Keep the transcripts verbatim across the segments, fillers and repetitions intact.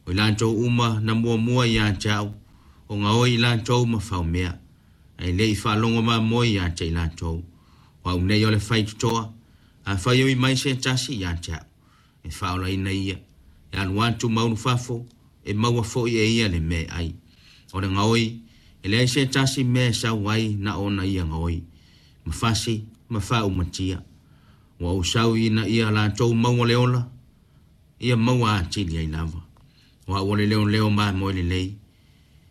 O i latou uma na muamua ia te a'u, o gaoi i latou ma faumea, ae lē i faalogo mamoe ia te i latou. O a'u nei o le faitotoa, afai e ui mai se tasi ia te a'u, e faaolaina ia, e alu atu ma ulufafo, e maua fo'i e ia le mea e ai. O le gaoi, e leai se tasi mea e sau ai na ona ia gaoi, ma fasi ma faaumatia. Ua ou sau ina ia latou maua le ola, ia maua atili ai lava. O a'u o le leoleo mamoe lelei,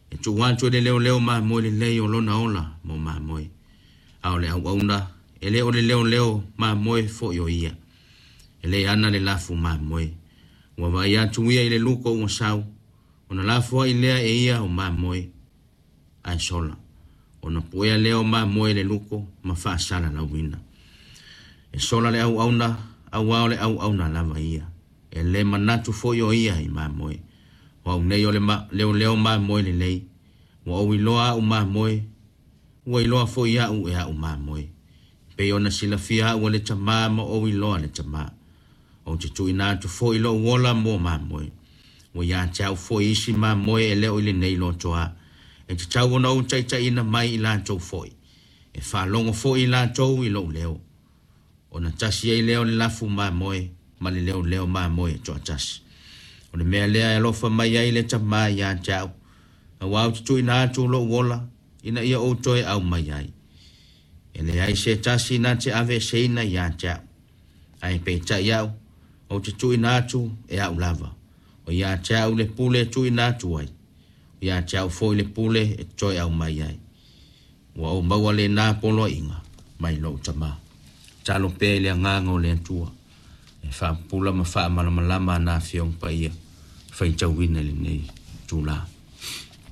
e tuu atu e le leoleo mamoe lelei o lona ola mo mamoe. A o le auauna, e lē o le leoleo mamoe fo'i o ia, e le ana le lafu mamoe. Ua vaai atu ia i le luko ua sau, ona lafoai lea e ia o mamoe, ae sola. Ona puea lea o mamoe e le luko ma faasalalauina. E sola le auauna, auā o le auauna lava ia. E lē manatu foi o ia i mamoe. O a'u nei o le ma, leoleo mamoe lelei, ua ou iloa a'u mamoe, ua iloa foi a'u e a'u mamoe. Pei ona silafia a'u e le Tamā ma ou iloa le Tamā. Ou te tuuina atu foi lo'u ola mo mamoe. Ua ia te a'u foi isi mamoe e lē o i lenei lotoā. E tatau ona ou taitaiina mai i latou foi. E faalogo foi i latou i lo'u leo. Ona tasi ai lea o le lafu mamoe ma le leoleo mamoe e toatasi. O le mea lea e alofa mai ai le Tamā ia te a'u, auā ou te tuuina atu lo'u ola, ina ia ou toe aumai ai. E leai se tasi na te aveeseina ia te a'u. Ae peitai a'u, ou te tuuina atu e a'u lava. O ia te a'u le pule e tuuina atu ai. O ia te a'u foi le pule e toe aumai ai. Ua ou maua lenā poloaiga mai lo'u Tamā. Talo pea i le agaga o le Atua e faapupula ma faamalamalama ana Afioga Paia faitauina i lenei itulā.